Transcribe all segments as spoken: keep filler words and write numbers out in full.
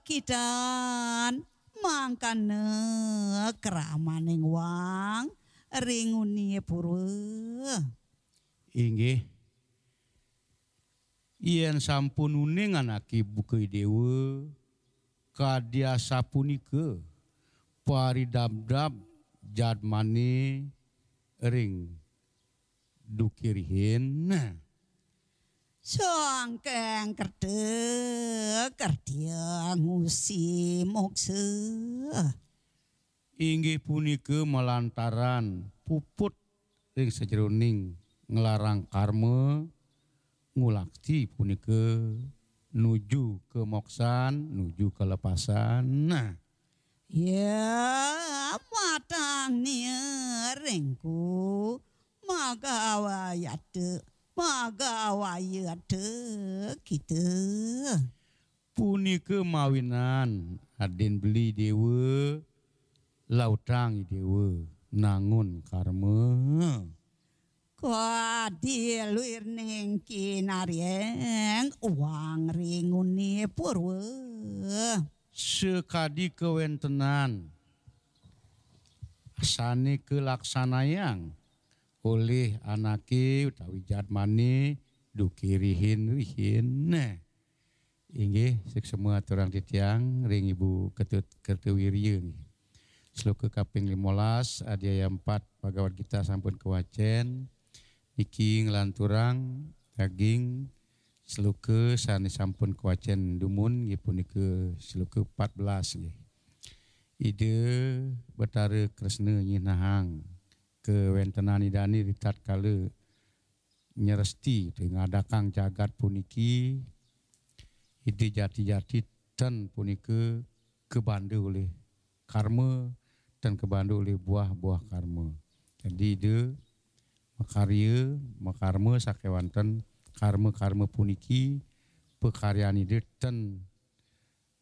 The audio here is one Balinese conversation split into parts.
sakidan mangkana kramaning wang ring unia purwa. Inggih. Yen sampun uning anake buka Idewa, kadi asapunika paridabdab jadmane ring duke rihin. Sangkeng kerta, kertia ngusi moksa. Inggih punika malantaran puput ring sajeroning nglarang karma, ngulakti punika nuju kamoksan, nuju kalepasan. Nah. Ya, matang nia ringku, magawayata, magawayata kita. Punika mawinan adin beli Dewa, lautang Idewa, nangun karma. Kadi luir ning kinarieng uang ring unia purwa. Sakadi kawentenan sane kalaksanayang olih anake utawi jadmane duke rihin-rihin. Nah. Inggih, suksma aturang titiang ring Ibu Ketut Kertawirya nggih. Sloka kaping limolas, adi ayat empat Bhagavad Gita sampun kawacen. Niki nglanturang daging sloka sane sampun kawacen dumun nggih punika sloka empat belas nggih. Ida Betara Kresna nyinahang kawentenan Idane ritatkala nyeresti utawi ngadakang jagat puniki, Ida jati-jati ten punika kabanda olih karma, ten kabanda olih buah-buah karma. Jadi Ida makarya, makarma sakewanten karma-karma puniki pakaryan Ida ten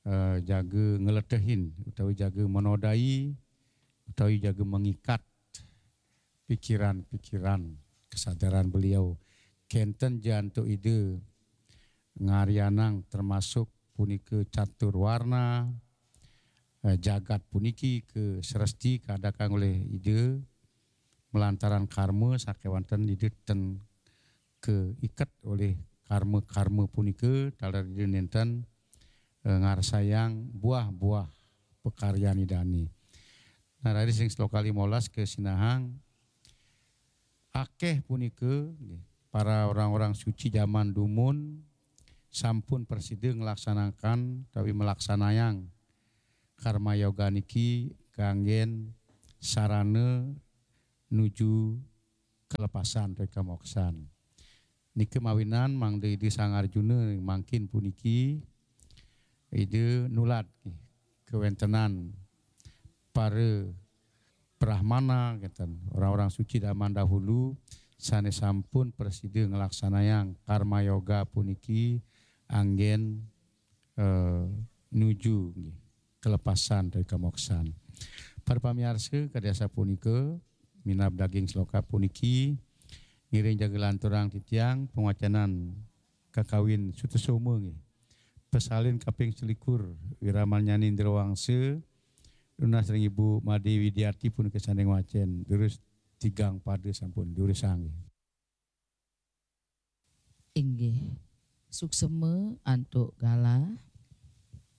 eh, jaga ngeletehin utawi jaga menodai utawi jaga mengikat pikiran-pikiran kesadaran beliau. Kenten ja antuk Ida ngaryanang termasuk punika catur warna, eh, jagat puniki ka sresti kadakang olih Ida malantaran karma sakewanten Ida ten kaiket olih karma-karma punika taler Ida nenten, eh, ngarsayang buah-buah pakaryan Idane. Nah, raris ring sloka limolas kasinahang akeh punika nggih, para orang-orang suci jaman dumun sampun prasida nglaksanakan utawi melaksanayang karma yoga niki kanggen sarana nuju kalepasan utawi kamoksan. Nika mawinan mangda Ida Sang Arjuna mangkin puniki Ida nulad kawentenan para brahmana kenten, orang-orang suci zaman dahulu sane sampun prasida nglaksanayang karma yoga puniki anggen eh, nuju nggih, kelepasan dari kamoksan. Para pamiarsa, kadi asapunika minab daging sloka puniki ngiring jaga lanturang titiang pangwacanan kakawin Sutasoma nggih. Pesalin kaping selikur Wiramarnyani Indrawangsa nunas ring Ibu Made Widiati punika sane ngwacen. Durus tigang pada sampun durusang nggih. Inggih. Suksema antuk galah